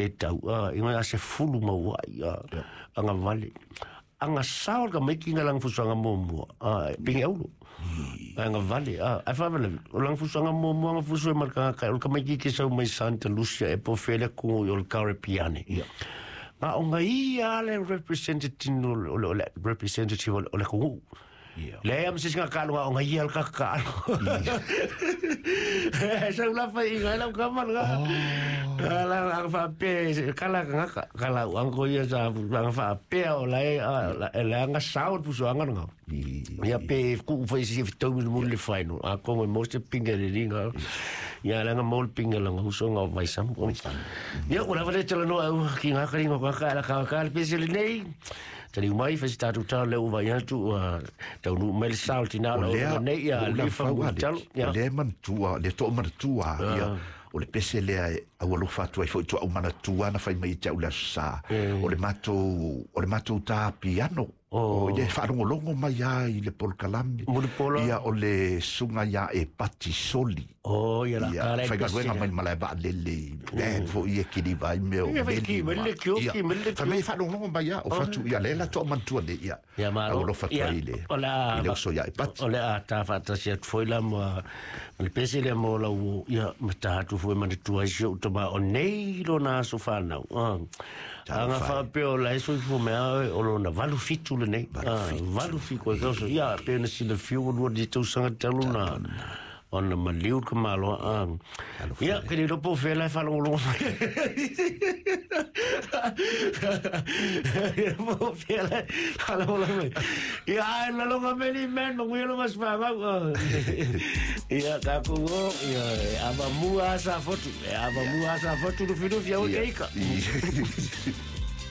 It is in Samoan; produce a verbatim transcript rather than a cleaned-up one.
le tau a inga se fulu maua ia anga vale anga sao ka mai kinga lang fusanga mo a pinge aulo anga vale a a fa vale o lang fusanga mo mo anga fusu mar ka ka o ka mai ki sau mai Santa Lucia e po fele ku o Caribbean ia nga o ngai ale representative o le representative o le ku le am sis nga ka nga ngai al ka ka sa la fa inga la ka man ga la ang fa pe kala nga kala ang ko ia sa ang fa pe o la la nga sao fu so nga nga ia pe ku fa si to mo le final a ko mo se pinga le ringa ia la nga mo pinga la nga so nga vai sam ia ora va le tele no au ki nga ka ringa ka la ka ka pe se le nei tali mai fa sta tu ta le u vai atu tau nu mel sal tina o nei ia le fa talo ia le man tua le to man tua ia o le pese lea au alofa atu ai foi tua'u manatua na fai mai te au le aso sā o le matou o le matou tā piano o ia e faalogologo mai a i le polokalame ia o le suga ia e pati soli o ia la kala faigaluega mai malae vaalele e fo'i e kiliva ai mea o meli fai mai e faalogologo mai a o fatu ia le la to'a manatua nei ia au alofa atu ai i le i le uso ia e pati o le a tā faatasi atu foi la ma le pese lea mo lau ia ma tā atu foi manatua ai si o'u tama o nei lona aso fanau aga faapea o lae soifua mea o lona valu fitu lenei valu fitu e kauso ia pe na silafia ua lua tausaga talu na ona maliu ka maloa ia ke le iloa po o fea lae faalogologo mai po o fea lae faalogologo mai ia ae laloga meli man maguia lo masifagau ia takou o ia e avamua asa fotu e avamua asa fotu lufilufi au keika.